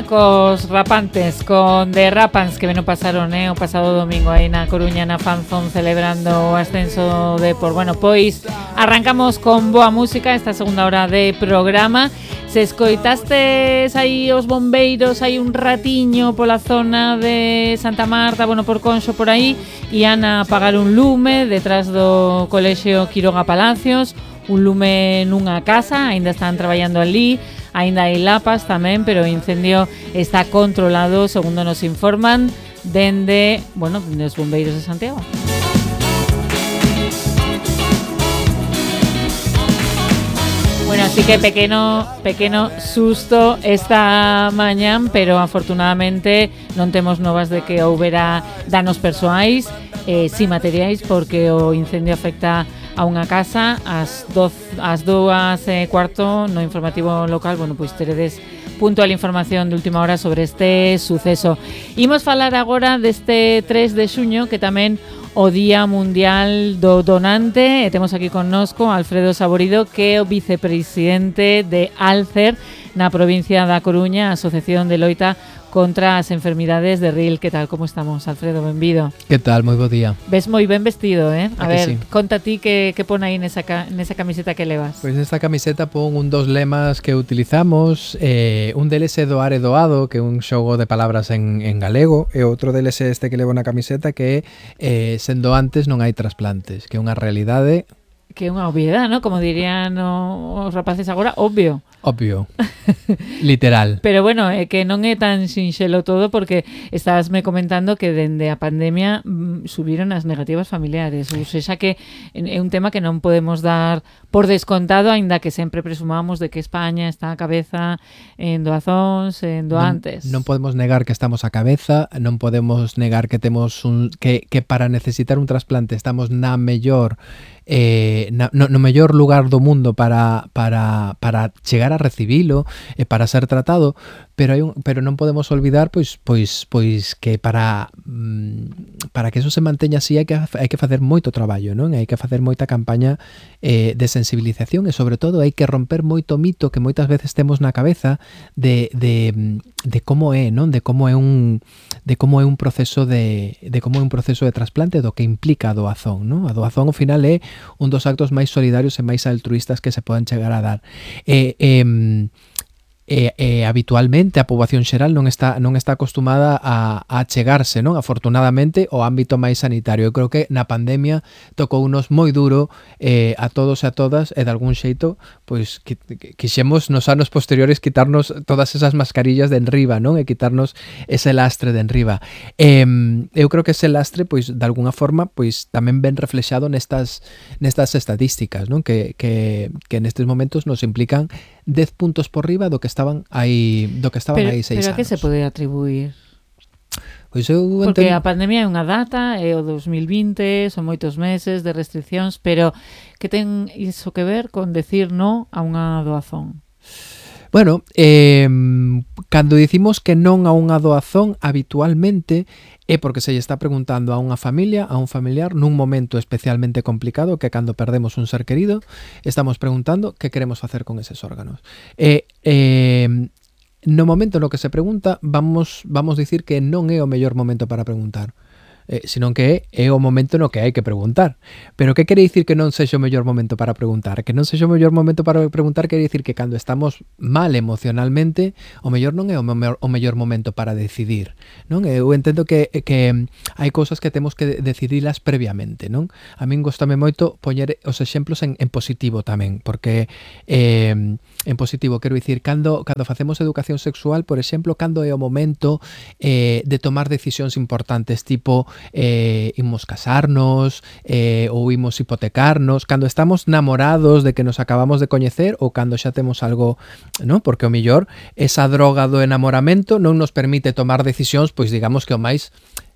Cos rapantes, con The Rapans que veno pasaron o pasado domingo aí na Coruña na Fanzón celebrando o ascenso de por. Bueno, pois arrancamos con boa música esta segunda hora de programa. Se escoitastes aí os bombeiros hai un ratiño pola zona de Santa Marta, bueno, por Conxo por aí, ian a apagar un lume detrás do colexio Quiroga Palacios, un lume nunha casa, aínda están traballando ali. Ainda hai lapas tamén, pero o incendio está controlado, segundo nos informan, dende os bombeiros de Santiago. Bueno, así que pequeno susto esta mañán, pero afortunadamente non temos novas de que houbera danos persoais, si materiais, porque o incendio afecta a unha casa ás 2:15 no informativo local. Bueno, pois teredes puntual información de última hora sobre este suceso. Imos falar agora deste 3 de xuño, que tamén o Día Mundial do Donante, e temos aquí connosco Alfredo Saborido, que é o vicepresidente de Alcer na provincia da Coruña, Asociación de Loita contra as enfermidades de Ril. Que tal, como estamos, Alfredo? Benvido. Que tal? Moi bo día. Ves moi ben vestido, eh? A ver, sí? conta ti que pon aí nesa camiseta que levas. Pois nesta camiseta pon dos lemas que utilizamos, un deles é doar e doado, que é un xogo de palabras en galego, e outro deles é este que levo na camiseta, que é sen doantes non hai trasplantes, que é unha realidade. Que é unha obviedade, ¿no? Como dirían os rapaces agora, obvio. Obvio. Literal. Pero bueno, que non é tan sinxelo todo, porque estabasme comentando que dende a pandemia subiron as negativas familiares. Ou seja, que é un tema que non podemos dar por descontado, aínda que sempre presumamos de que España está a cabeza en doazóns, en doantes. Non podemos negar que estamos a cabeza, non podemos negar que temos que para necesitar un trasplante estamos na mellor no mellor lugar do mundo para chegar a recibilo e para ser tratado, pero non podemos olvidar pois que para que eso se manteña así hai que facer moito traballo, non? Hai que facer moita campaña de sensibilización, e sobre todo hai que romper moito mito que moitas veces temos na cabeza de como é, non? De como é un proceso de trasplante, do que implica a doazón, non? A doazón ao final é un dos actos máis solidarios e máis altruistas que se poden chegar a dar. Habitualmente a poboación xeral non está acostumada a chegarse, non? Afortunadamente, ao ámbito máis sanitario. Eu creo que na pandemia tocounos moi duro a todos e a todas, e de algún xeito pois quixemos nos anos posteriores quitarnos todas esas mascarillas de enriba, non? E quitarnos ese lastre de enriba. Eu creo que ese lastre, pois de alguna forma, pois tamén ben reflexado nestas estatísticas, non? Que nestes momentos nos implican 10 puntos por riba do que estaban aí 6 anos. Pero a que se pode atribuir? Pois eu porque a pandemia é unha data, é o 2020, son moitos meses de restriccións, pero que ten iso que ver con decir no a unha doazón? Bueno, cando dicimos que non a unha doazón, habitualmente é porque se lle está preguntando a unha familia, a un familiar, nun momento especialmente complicado, que cando perdemos un ser querido, estamos preguntando que queremos facer con eses órganos. No momento no que se pregunta, vamos dicir que non é o mellor momento para preguntar. Senón que é o momento no que hai que preguntar. Pero que quere dicir que non sexa o mellor momento para preguntar? Que non sexa o mellor momento para preguntar quere dicir que cando estamos mal emocionalmente, o mellor non é o mellor momento para decidir, non? Eu entendo que hai cousas que temos que decidilas previamente, non? A min gostame moito poñer os exemplos en positivo tamén, porque en positivo quero dicir, cando facemos educación sexual, por exemplo, cando é o momento de tomar decisións importantes, tipo imos casarnos ou imos hipotecarnos, cando estamos namorados de que nos acabamos de coñecer, ou cando xa temos algo, non? Porque o mellor esa droga do enamoramento non nos permite tomar decisións, pois digamos que o máis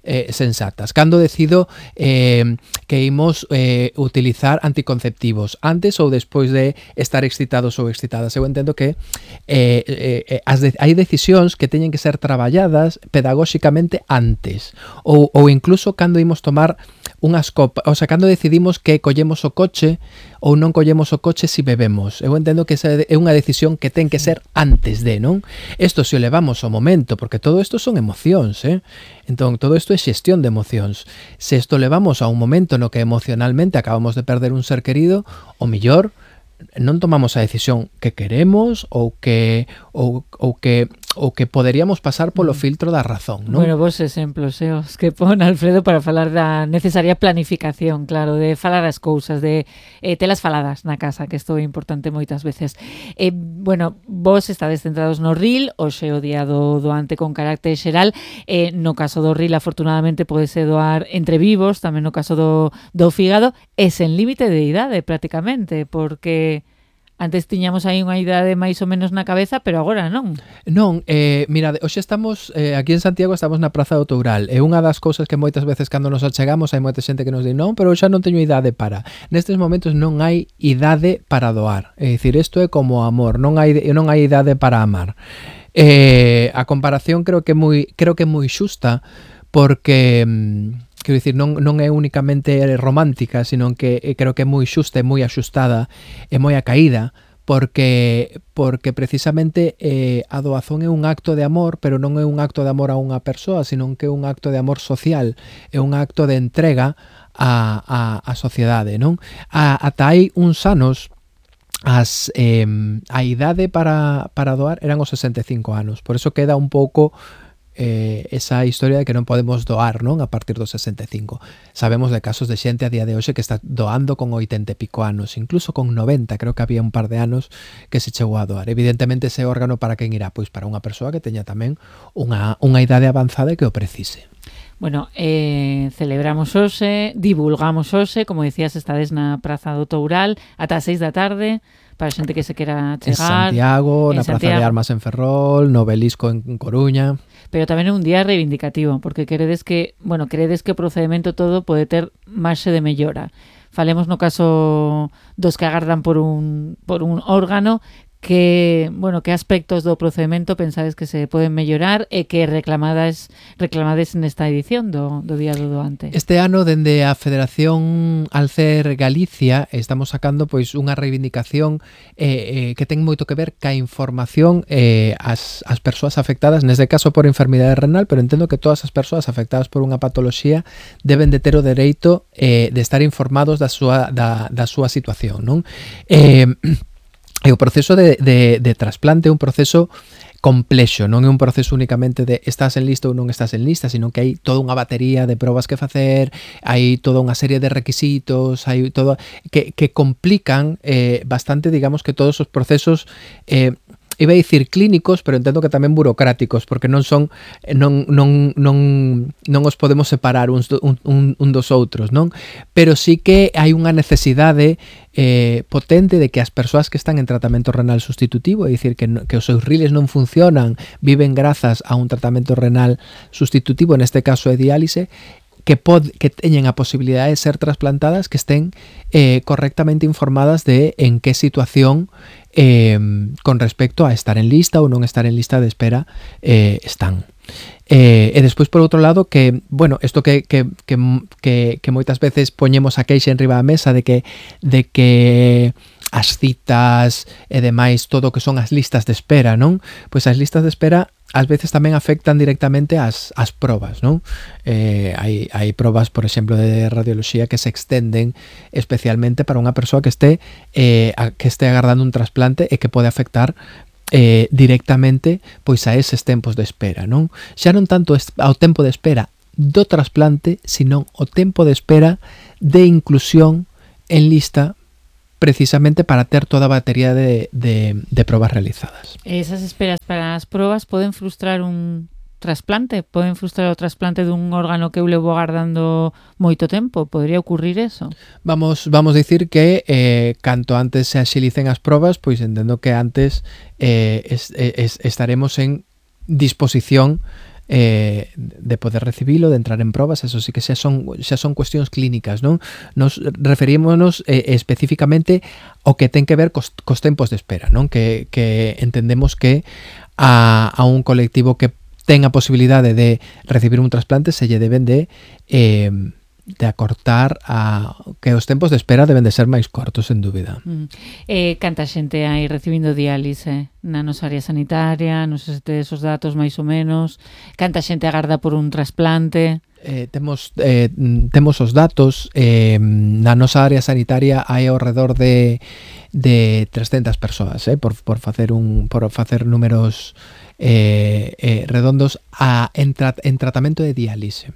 sensatas. Cando decido que imos utilizar anticonceptivos, antes ou despois de estar excitados ou excitadas. Eu entendo que hai decisións que teñen que ser traballadas pedagóxicamente antes, ou incluso cando imos tomar unhas copas, o sea, cando decidimos que collemos o coche ou non collemos o coche si bebemos. Eu entendo que esa é unha decisión que ten que ser antes de, non? Isto se o levamos ao momento, porque todo isto son emocións, Entón, todo isto é xestión de emocións. Se isto levamos a un momento no que emocionalmente acabamos de perder un ser querido, o millor non tomamos a decisión que queremos ou que poderíamos pasar polo filtro da razón, non? Bueno, vos exemplos, os que pon Alfredo para falar da necesaria planificación, claro, de falar as cousas, de telas faladas na casa, que isto é importante moitas veces. Bueno, vos estades centrados no RIL, hoxe o día do doante con carácter xeral, no caso do RIL, afortunadamente, podese doar entre vivos, tamén no caso do fígado, e sen límite de idade, prácticamente, porque antes tiñamos aí unha idade máis ou menos na cabeza, pero agora non. Non, mirade, hoxe estamos aquí en Santiago, estamos na Praza do Toural. É unha das cousas que moitas veces cando nos achegamos hai moita xente que nos di non, pero xa non teño idade para. Nestes momentos non hai idade para doar. É dicir, isto é como amor, non hai idade para amar. A comparación creo que é moi xusta porque quero dicir, non é únicamente romántica, sino que creo que é moi xusta e moi axustada e moi acaída, porque precisamente a doazón é un acto de amor, pero non é un acto de amor a unha persoa, sino que é un acto de amor social, é un acto de entrega á sociedade, non? Ata hai uns anos a idade para doar eran os 65 anos, por eso queda un pouco esa historia de que non podemos doar, non, a partir dos 65. Sabemos de casos de xente a día de hoxe que está doando con 80 e pico anos, incluso con 90, creo que había un par de anos que se chegou a doar. Evidentemente ese órgano para quen irá? Pois para unha persoa que teña tamén unha idade avanzada e que o precise. Bueno, celebramos hoxe, divulgamos hoxe, como decías, estades na Praza do Toural ata as 6 da tarde, para a xente que se quera chegar. En Santiago, na Praza de Armas en Ferrol, no Obelisco en Coruña. Pero tamén é un día reivindicativo, porque credes que o procedimento todo pode ter marxe de mellora. Falemos no caso dos que agardan por un órgano, que aspectos do procedimento pensades que se poden mellorar e que reclamades nesta edición do Día do Doante? Este ano, dende a Federación Alcer Galicia, estamos sacando pois unha reivindicación que ten moito que ver ca información ás persoas afectadas, neste caso por enfermidade renal, pero entendo que todas as persoas afectadas por unha patoloxía deben de ter o dereito de estar informados da súa situación, non? E o proceso de trasplante é un proceso complexo, non é un proceso únicamente de estás en lista ou non estás en lista, sino que hai toda unha batería de probas que facer, hai toda unha serie de requisitos, hai todo que complican bastante, digamos, que todos os procesos iba a dicir clínicos, pero entendo que tamén burocráticos, porque non os podemos separar un dos outros, non? Pero sí que hai unha necesidade potente de que as persoas que están en tratamento renal sustitutivo, é dicir, que os seus riles non funcionan, viven grazas a un tratamento renal sustitutivo, neste caso é diálise, que teñen a posibilidade de ser trasplantadas, que estén correctamente informadas de en que situación con respecto a estar en lista ou non estar en lista de espera están. E despois, por outro lado, que, bueno, isto que moitas veces poñemos a queixa en riba da mesa de que as citas e demais, todo o que son as listas de espera, non? Pois as listas de espera ás veces tamén afectan directamente as probas, non? Hai probas, por exemplo, de radioloxía que se extenden especialmente para unha persoa que este agardando un trasplante e que pode afectar directamente pois a eses tempos de espera, non? Xa non tanto ao tempo de espera do trasplante, sino o tempo de espera de inclusión en lista, precisamente para ter toda a batería de probas realizadas. Esas esperas para as probas poden frustrar un trasplante? Poden frustrar o trasplante dun órgano que eu levo agardando moito tempo? Podría ocurrir eso? Vamos dicir que canto antes se axilicen as probas, pois entendo que antes estaremos en disposición de poder recibilo, de entrar en probas. Eso sí que xa son cuestións clínicas, non? Nos referímonos especificamente ao que ten que ver cos tempos de espera, non? Que entendemos que a un colectivo que ten a posibilidade de recibir un trasplante se lle deben de acortar que os tempos de espera deben de ser máis cortos, sen dúbida. Canta xente hai recibindo diálise na nosa área sanitaria, non sei se tedes os datos máis ou menos, canta xente agarda por un trasplante? Temos os datos. Na nosa área sanitaria hai ao redor de 300 persoas, por facer números redondos en tratamento de diálise.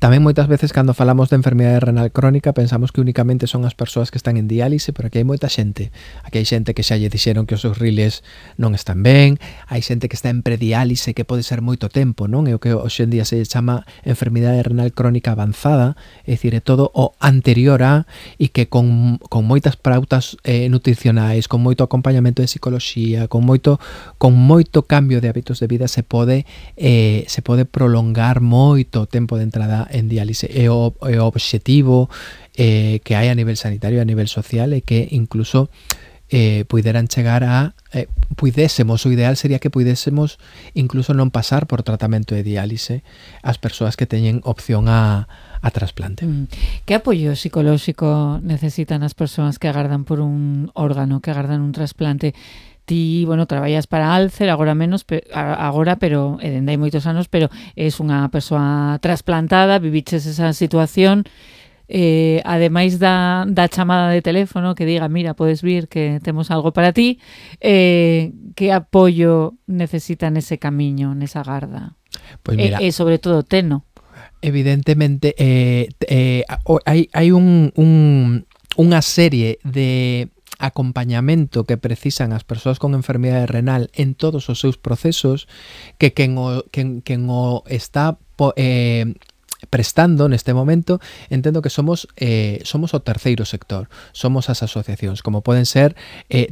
Tamén moitas veces cando falamos de enfermidade renal crónica pensamos que únicamente son as persoas que están en diálise, pero aquí hai moita xente. Aquí hai xente que xa lle dixeron que os seus riles non están ben, hai xente que está en prediálise que pode ser moito tempo, non? É o que hoxe en día se chama enfermidade renal crónica avanzada, é dicir, é todo o anterior a, e que con moitas pautas nutricionais, con moito acompañamento de psicología, con moito cambio de hábitos de vida se pode prolongar moito o tempo de entrada en diálise. E o obxectivo que hai a nivel sanitario, a nivel social, é que incluso puideran chegar a puidésemos, o ideal sería que puidésemos incluso non pasar por tratamento de diálise as persoas que teñen opción a trasplante. Que apoio psicolóxico necesitan as persoas que agardan por un órgano, que agardan un trasplante? Ti, traballas para Alcer agora menos, pero dende hai moitos anos, pero és unha persoa trasplantada, viviches esa situación, ademais da chamada de teléfono que diga, mira, podes vir que temos algo para ti, que apoio necesitan ese camiño, nesa garda? Pois mira, e sobre todo teno. Evidentemente hai unha serie de acompañamento que precisan as persoas con enfermidade renal en todos os seus procesos, que quen o está prestando neste momento, entendo que somos o terceiro sector, somos as asociacións, como poden ser,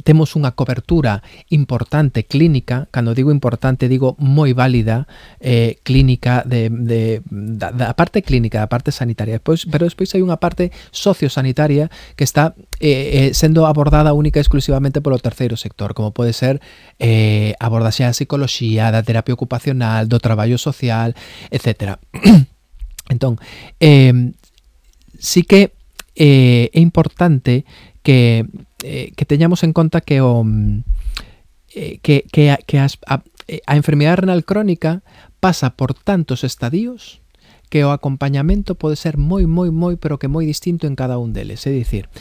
temos unha cobertura importante clínica, cando digo importante digo moi válida, clínica da parte clínica, da parte sanitaria, pero despois hai unha parte sociosanitaria que está sendo abordada única e exclusivamente polo terceiro sector, como pode ser abordaxe da psicología, da terapia ocupacional, do traballo social, etcétera. Entón, sí que é importante que teñamos en conta que a enfermidade renal crónica pasa por tantos estadios que o acompañamento pode ser moi, pero que moi distinto en cada un deles. É dicir,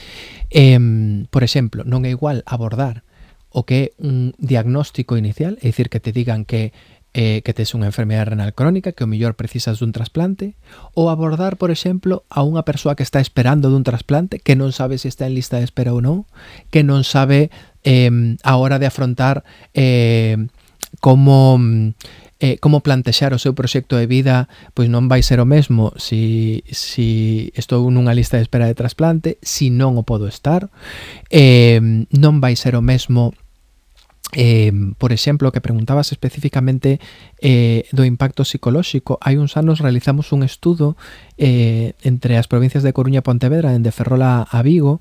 por exemplo, non é igual abordar o que é un diagnóstico inicial, é dicir, que te digan que tes unha enfermedade renal crónica, que o mellor precisas dun trasplante, ou abordar, por exemplo, a unha persoa que está esperando dun trasplante, que non sabe se está en lista de espera ou non, que non sabe a hora de afrontar como plantexar o seu proxecto de vida, pois non vai ser o mesmo si estou nunha lista de espera de trasplante, si non o podo estar, non vai ser o mesmo. Por exemplo, que preguntabas especificamente do impacto psicolóxico. Hai uns anos realizamos un estudo entre as provincias de Coruña e Pontevedra, dende Ferrol a Vigo,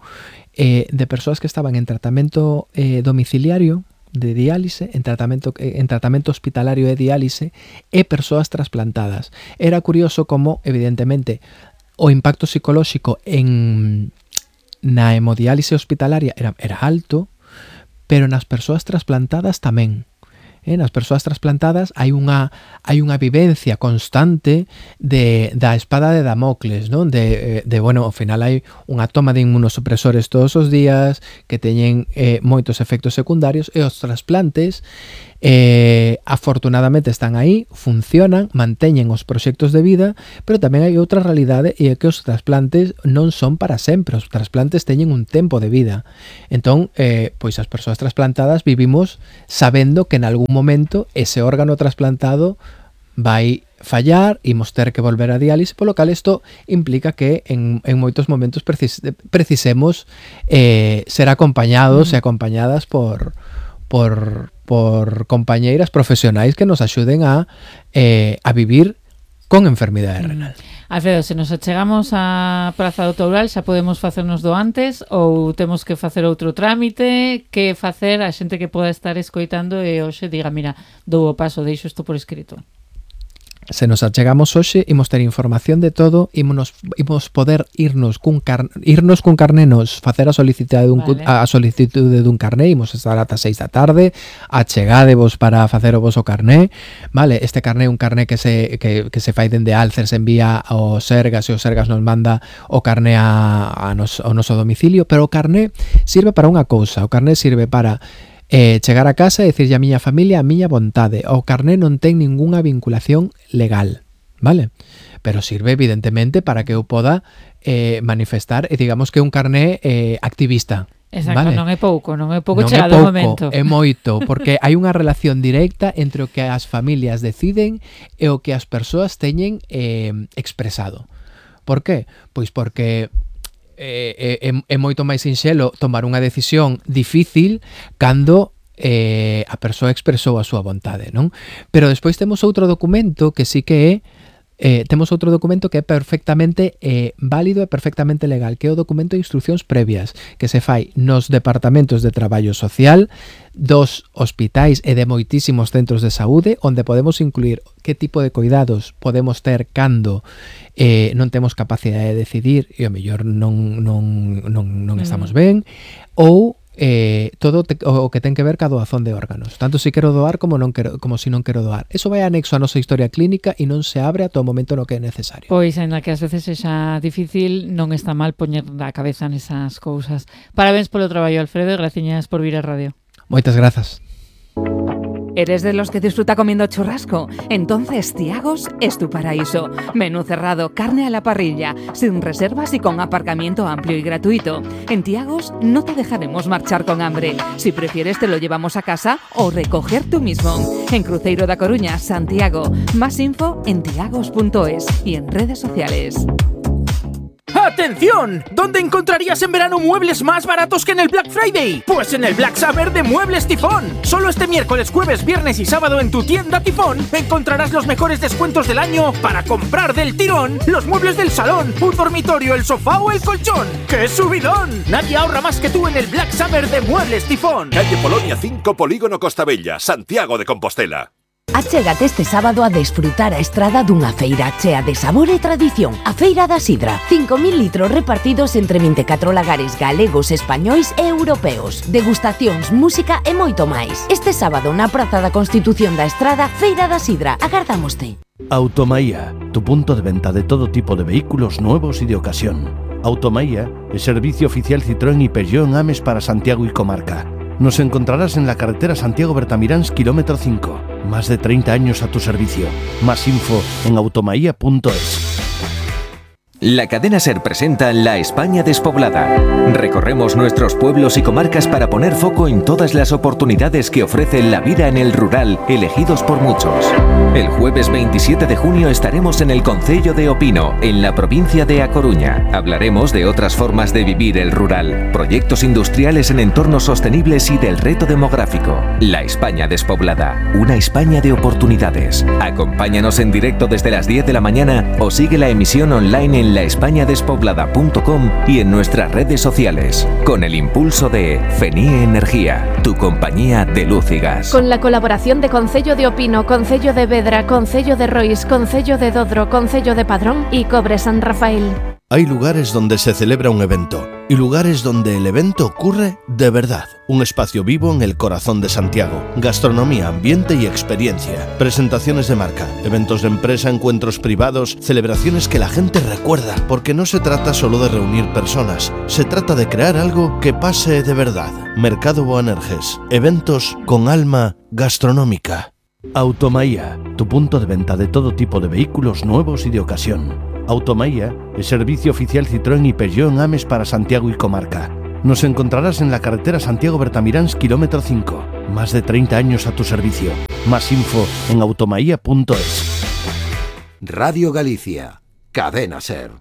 de persoas que estaban en tratamento domiciliario de diálise, en tratamento hospitalario de diálise, e persoas trasplantadas. Era curioso como, evidentemente, o impacto psicolóxico na hemodiálise hospitalaria era alto, pero nas persoas trasplantadas tamén. Nas persoas trasplantadas hai unha vivencia constante da espada de Damocles, non? Ao final hai unha toma de inmunosupresores todos os días que teñen moitos efectos secundarios, e os trasplantes afortunadamente están aí, funcionan, manteñen os proxectos de vida, pero tamén hai outra realidade, e é que os trasplantes non son para sempre, os trasplantes teñen un tempo de vida. Entón, pois as persoas trasplantadas vivimos sabendo que en algún momento ese órgano trasplantado vai fallar, imos ter que volver a diálise, polo cal isto implica que en moitos momentos precisemos ser acompañados e acompañadas por compañeiras profesionais que nos axuden a vivir con enfermidade renal. Alfredo, se nos achegamos á Praza do Toural, xa podemos facernos do antes ou temos que facer outro trámite? Que facer a xente que poda estar escoitando e hoxe diga, mira, dou o paso, deixo isto por escrito? Se nos achegamos hoxe, imos ter información de todo, imos poder irnos cun carné, nos facer a solicitude dun carné, imos estar ata 6 da tarde, achegadevos para facer o voso carné, vale? Este carné é un carné que se fai dende Alcer, se envía ao Sergas e o Sergas nos manda o carné ao noso domicilio, pero o carné sirve para unha cousa, o carné sirve para chegar a casa e dicirlle a miña familia a miña vontade. O carné non ten ningunha vinculación legal, vale? Pero sirve evidentemente para que eu poda manifestar, e digamos que é un carné activista. Exacto, vale? non é pouco chegado o momento. É moito, porque hai unha relación directa entre o que as familias deciden e o que as persoas teñen expresado. Por qué? Pois porque é moito máis sinxelo tomar unha decisión difícil cando a persoa expresou a súa vontade, non? Pero despois temos outro documento que sí que é perfectamente válido e perfectamente legal, que é o documento de instruccións previas que se fai nos departamentos de traballo social dos hospitais e de moitísimos centros de saúde, onde podemos incluir que tipo de cuidados podemos ter cando non temos capacidade de decidir e o mellor non estamos ben, ou todo o que ten que ver ca doazón de órganos, tanto se quero doar como se non quero doar. Eso vai anexo a nosa historia clínica e non se abre a todo momento no que é necesario. Pois, ainda que ás veces sexa difícil, non está mal poñer a cabeza nesas cousas. Parabéns polo traballo, Alfredo, e graciñas por vir á radio. Moitas grazas. ¿Eres de los que disfruta comiendo churrasco? Entonces Tiagos es tu paraíso. Menú cerrado, carne a la parrilla, sin reservas y con aparcamiento amplio y gratuito. En Tiagos no te dejaremos marchar con hambre. Si prefieres te lo llevamos a casa o recoger tú mismo. En Cruzeiro da Coruña, Santiago. Más info en tiagos.es y en redes sociales. ¡Atención! ¿Dónde encontrarías en verano muebles más baratos que en el Black Friday? Pues en el Black Summer de Muebles Tifón. Solo este miércoles, jueves, viernes y sábado en tu tienda Tifón encontrarás los mejores descuentos del año para comprar del tirón los muebles del salón, un dormitorio, el sofá o el colchón. ¡Qué subidón! Nadie ahorra más que tú en el Black Summer de Muebles Tifón. Calle Polonia 5, Polígono Costa Bella, Santiago de Compostela. Achégate este sábado a desfrutar a estrada dunha feira chea de sabor e tradición. A Feira da Sidra. 5.000 litros repartidos entre 24 lagares galegos, españois e europeos. Degustacións, música e moito máis. Este sábado na Praza da Constitución da Estrada, Feira da Sidra. Agardámoste. Automaía, tu punto de venta de todo tipo de vehículos nuevos y de ocasión. Automaía es servicio oficial Citroën y Peugeot en Ames para Santiago y comarca. Nos encontrarás en la carretera Santiago-Bertamiráns, kilómetro 5. Más de 30 años a tu servicio. Más info en automaía.es. La cadena SER presenta La España despoblada. Recorremos nuestros pueblos y comarcas para poner foco en todas las oportunidades que ofrece la vida en el rural, elegidos por muchos. El jueves 27 de junio estaremos en el concello de Opino, en la provincia de A Coruña. Hablaremos de otras formas de vivir el rural, proyectos industriales en entornos sostenibles y del reto demográfico. La España despoblada, una España de oportunidades. Acompáñanos en directo desde las 10 de la mañana o sigue la emisión online en laespañadespoblada.com y en nuestras redes sociales, con el impulso de FENIE Energía, tu compañía de luz y gas. Con la colaboración de Concello de Opino, Concello de Vedra, Concello de Rois, Concello de Dodro, Concello de Padrón y Cobre San Rafael. Hay lugares donde se celebra un evento y lugares donde el evento ocurre de verdad. Un espacio vivo en el corazón de Santiago. Gastronomía, ambiente y experiencia. Presentaciones de marca, eventos de empresa, encuentros privados, celebraciones que la gente recuerda. Porque no se trata solo de reunir personas, se trata de crear algo que pase de verdad. Mercado Boanerges. Eventos con alma gastronómica. Automaía, tu punto de venta de todo tipo de vehículos nuevos y de ocasión. Automaía es servicio oficial Citroën y Peugeot en Ames para Santiago y comarca. Nos encontrarás en la carretera Santiago-Bertamiráns, kilómetro 5. Más de 30 años a tu servicio. Más info en automaía.es. Radio Galicia, Cadena SER.